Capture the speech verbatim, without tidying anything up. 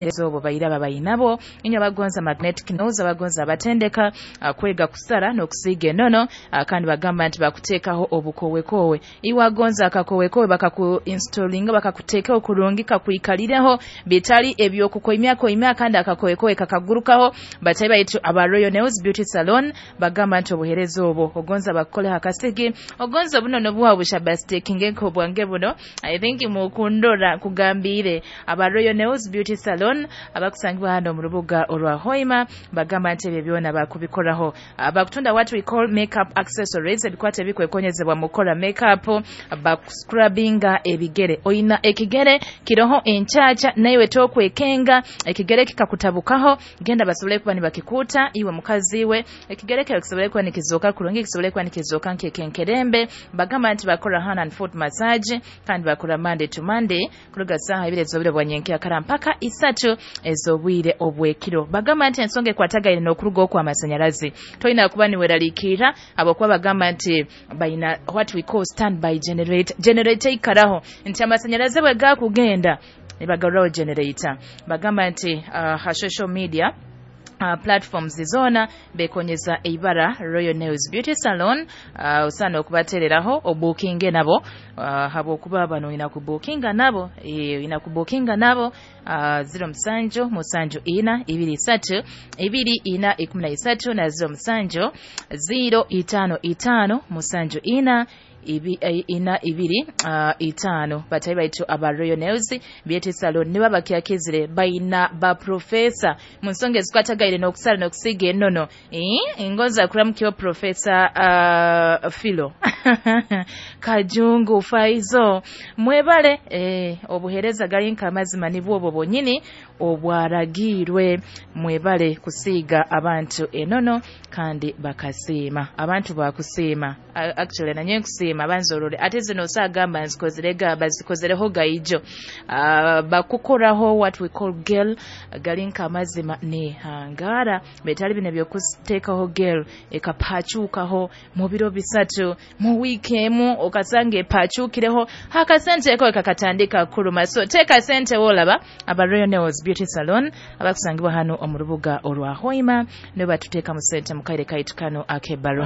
Obo bairaba bainabo inywe abagonza magnetic nose, abagonza abatendeka uh, kwega kusara n'okusiiga enono, uh, kandi bagamba nti bakuteekaho obukowekowe. Iwe agonza akakowekowe bakaku installinga, bakakuteekaho kurungi, kakwikalireho, bitali ebyokukoimya koimya, kandi akakowekowe kakagurukaho. Batayi baitu aba Royal Nails Beauty Salon bagamba nti obuhereza obwo ogonza bakukoleho akasigi, ogonza obunono bwawe bushabastikinge nk'obwange buno. I think mukundora kugambire aba Royal Nails Beauty Salon abakusangibwa hano mu rubuga olwa Hoima, bagamba nti ebyo byona bakubikoraho. uh, bakutunda what we call makeup accessories, ebikwata ebikwekonyezebwa mu kukola makeup, bakuscrubbinga ebigere. Oyina ekigere kiroho enkyakya naiwe tokwekenga, ekigere kikakutabukaho, genda basobole kuba nibakikuuta. Iwe mukazi we, ekigere kyawe kisobole kuba nikizooka kurungi, kisobole kuba nikizooka nkekenkerembe. Bagamba nti bakora hand and foot massage, kandi bakora Monday to Monday kuruga saaha ibiri ez'obwire bwa nyenkyakara mpaka isatu ez'obwire obwekiro. Bagamba nti ensonga ekwatagaine n'okuruga okw'amasanyalazi toyina kuba niweraliikirira, habwokuba bagamba nti bayina what we call standby generator, generator ikaraho nti amasanyalazi bwe gakugenda nibagaruraho generator. Bagamba nti uh, ha social media Uh, platforms zona bekonyeza eibara Royal Nails Beauty Salon. uh, osana okubatereraho obukinge nabo, uh, habwokuba bano ina kubukinga nabo, e, ina kubukinga nabo uh, zero musanju musanju ina ibiri isatu ibiri ina ikumi na isatu na zero musanju zero itano itano musanju ina ibi, eh, ina ibiri uh, itano. Batayi baitu aba Royal Nails Beauty Salon niba bakyakizire, bayina ba professor mu nsonga ezikwatagaire n'okusala n'okusiiga enono. eh, engonza kuramukyo Professor uh, Philo Kajungu Faizo, mwebale eh, obuhereza gali nk'amazima nibwo obwo bwonyini obwaragiirwe. Mwebale kusiiga abantu enono kandi bakasiima, abantu bakusiima. Actually nanye nkusiima banzorore, ate zino osagamba nzikozerega bazikozereho gaijo, uh, bakukoraho what we call gel gali nk'amazima ne hangara betali bino byokuteekaho gel ekapacukaho mu biro bisatu mu wiiki emu, okasanga epacukireho akasente ko kakatandika kuluma. So teeka sente wolaba aba Royal Nails Beauty Salon abakusangibwa hano omu rubuga olwa Hoima nibo batuteeka mu sente mu kaire kaitu kano ak'ebbaluwa.